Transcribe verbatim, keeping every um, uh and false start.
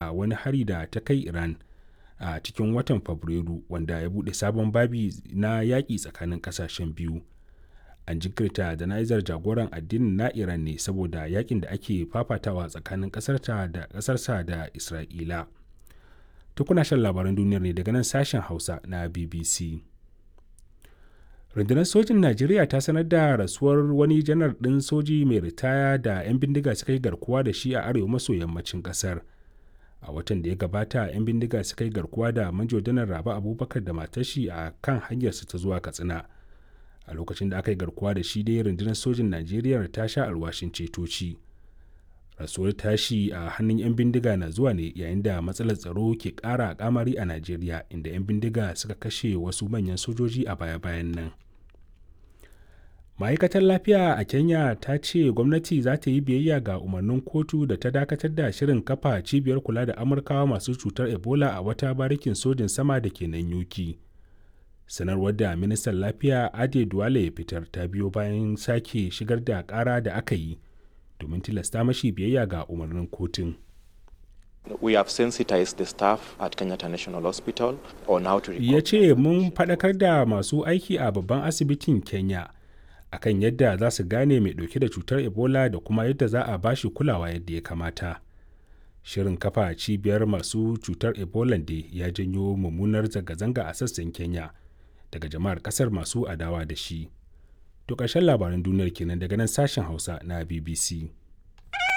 A wani hari da ta kai Iran a cikin watan Fabrairu wanda ya buɗe sabon babi na yaƙi tsakanin ƙasashen biyu. An jinkirta jana'izar jagoran addinin na Iran ne saboda yakin da ake fafatawa tsakanin ƙasarsa da Isra'ila. To kuna shan labaran duniyar ne daga nan sashen Hausa na B B C. Rundunar Sojin Najeriya ta sanar da rasuwar wani janar ɗin soji mai ritaya da 'yan bindiga suka yi garkuwa da shi a arewa maso yammacin ƙasar. A watan da ya gabata 'yan bindiga suka yi garkuwa da Manjo Janar Rabe Abubakar da matar shi a kan hanyarsu ta zuwa Katsina. A lokacin da aka yi garkuwa da shi dai, rundunar sojin Najeriya ta sha alwashin ceto shi. Rasuwar tashi a hannun 'yan bindiga na zuwa ne yayin da matsalar tsaro ke ƙara kamari a Najeriya, inda 'yan bindiga suka kashe wasu manyan sojoji a baya-bayan nan. Ma'aikatar lafiya a Kenya ta ce gwamnati za ta yi biyayya ga umarnin kotu da ta dakatar da shirin kafa cibiyar kula da Amurkawa masu cutar Ebola a wata barikin sojin sama da ke Nanyuki. Sanarwar da ministan lafiya Ade Duale ya fitar ta biyo bayan sake shigar da kara da aka yi domin tilasta mashi biyayya ga umarnin kotun. We have sensitized the staff at Kenyatta National Hospital on how to Ya ce mun faɗakar da masu aiki a babban asibitin Kenya akan yadda za su gane mai ɗauke da cutar Ebola da kuma yadda za a bashi kulawa yadda ya kamata. Shirin kafa cibiyar masu cutar Ebola da ya janyo mummunar zanga-zanga a sassan Kenya daga jama'ar kasar masu adawa da shi. To ƙarshen labaran duniyar kenan daga nan sashen Hausa na B B C.